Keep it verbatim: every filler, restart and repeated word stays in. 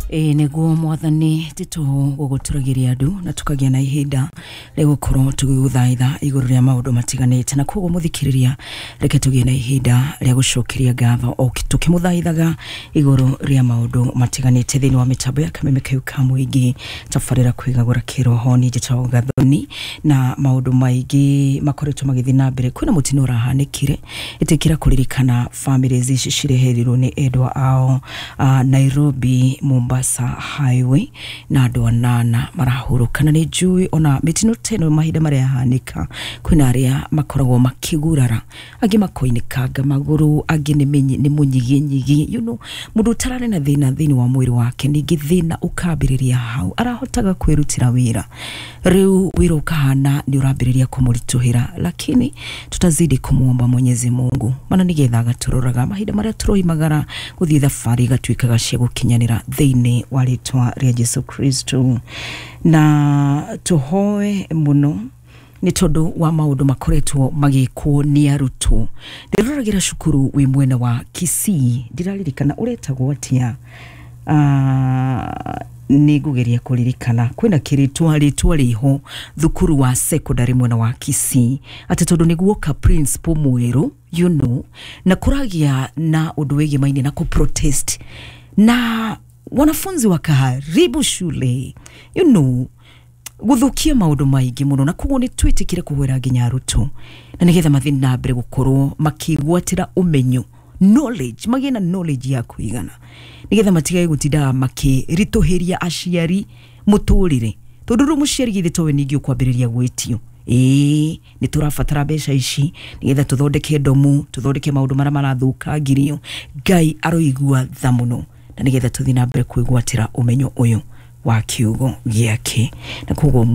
Ĩĩ nĩguo Mwathani, titũ gũgũtũragĩria andũ na tũkagĩa na ihinda rĩa gũkorwo tũgĩgũthaitha igũrũ rĩa maũndũ matiganĩte. Na koguo mũthikĩrĩria, reke tũgĩe na ihinda rĩa gũcokeria ngatho o tũkĩmũthaithaga igũrũ rĩa maũndũ matiganĩte thĩinĩ wa mĩtambo ya Kameme kau ka mũingĩ, tabarĩra kwĩgagũra kĩroho. Niĩ njĩtagwo Gathoni, na maũndũ maingĩ makoretwo magĩthiĩ na mbere. Kwĩna mũtino ũrahanĩkire, ĩtĩkĩra kũririkana families ici cireherirwo nĩ endwa ao uh, Nairobi Mombasa Highway, na andũ anana marahurũka. Na nĩ njũĩ ona mĩtino ta ĩno mahinda marĩa yahanĩka, kwĩna arĩa makoragwo makĩgurara, angĩ makoinĩkanga magũrũ, angĩ nĩ menyi- nĩ mũnyiginyigi, you know, mũndũ ũtararĩ na thĩna thĩinĩ wa mwĩrĩ wake, ningĩ thĩna ũkambĩrĩria hau arahotaga kwĩrutĩra wĩra, rĩu wĩra ũkahana nĩ ũrambĩrĩria kũmũritũhĩra. Lakini tutazidi kumuomba Mwenyezi Mungu, mana nĩgetha agatũroraga mahinda marĩa tũroimagara gũthiĩ thabarĩ igatuĩkaga cia gũkinyanĩra thĩinĩ wa rĩtwa rĩa Jesu Kristo. Na tũhoe mũno nĩ tondũ wa maũndũ makoretwo magĩkwo nĩ arutwo. Ndĩroragĩra cukuru wĩ mwena wa Kisii, ndiraririkana ũretagwo atĩa. Ah, nĩ ngũgeria kũririkana, kwĩna kĩrĩtwa rĩtwa rĩho thukuru wa secondary mwena wa Kisii, atĩ tondũ nĩguoka principal mwerũ, you know, na kũragĩa na ũndũ wĩgimaine na kũ-protest, na wanafunzi wakaharibu shule, you know gũthũkia maũndũ maingĩ mũno. Na koguo nĩ twĩtĩkire kũhwĩra nginya arutwo, na nĩgetha mathiĩ na mbere gũkorwo makĩgwatĩra ũmenyo, knowledge, magĩe na knowledge ya kũigana, nĩgetha matigage gũtindaga makĩritũhĩria aciari mũtũrĩre, tondũ rĩu mũciari githĩ towe ningĩ ũkwambĩrĩria gwĩtio, ĩĩ nĩ tũrabatara mbeca ici nĩgetha tũthondeke ndomu, tũthondeke maũndũ marĩa marathũkangirio. Ngai aroigua tha mũno, na nĩgetha tũthiĩ na mbere kwĩgwatĩra ũmenyo ũyũ wa kiugo gĩake, na koguo